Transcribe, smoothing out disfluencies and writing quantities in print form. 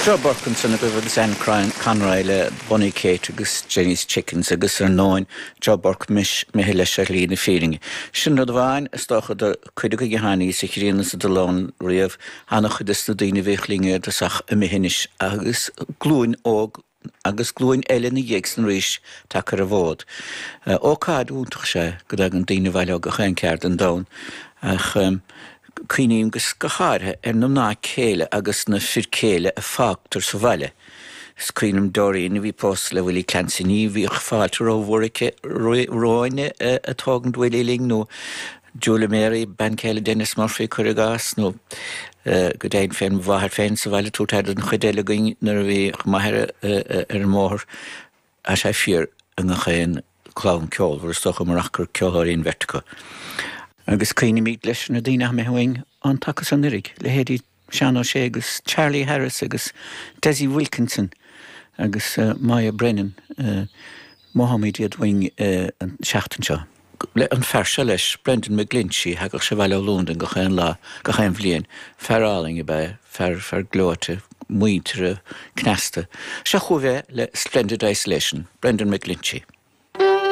Joe Burke ansan agaibh agus Anne Conroy le Bunny Kate agus Jenny's Chickens agus ar ndóin Joe Burke imithe leis ar shlí na fírinne. Sin rud amháin is dócha do cuid againn a tháinig sa ghrian is sa dullán riamh, ana-chuid des na daoine a bhíodh linn ar dtosach imithe anois agus glúin óg agus glúin eile ina dhiaidh san arís tagtha ar an bhfód. Ócáid iontach is ea go dtagann daoine abhaile ó gach aon ceard den domhan ach cuimhním go háirithe ar na mná céile agus na fir céile a fágtar sa bhaile. Is cuimhin liom Doreen a bhí pósta le Willie Clancy, ní bhíodh fáilte rómhór aici romhainn ag tógaint Willie linn nó Julia Mary, bean chéile Denis Murphy, cuir i gcás, nó go deimhin féin mo mháthair féin sa bhaile ag tabhairt aire don chuid eile againn nuair a bhíodh m'athair ar an mbóthar. Tá sé fíor i ngach aon chlann ceolmhar, is dócha, murach gur ceoltóirí an bheirt acu. Agus cuimhnímid leis ar na daoine atá imithe uainn an taca so anuraidh, leithéidí Seán Ó Sé agus Charlie Harris agus Dessie Wilkinson agus Moya Brennan. Mothaímid iad uainn an tseachtain seo. An fear seo leis, Brendan McGlinchey, thagadh sé abhaile ó Londain gach aon lá, gach aon bhliain. Fear álainn ab ea é, fear, fear gleoite, muinteartha, cneasta. Seo chugaibh é le Splendid Isolation, Brendan McGlinchey.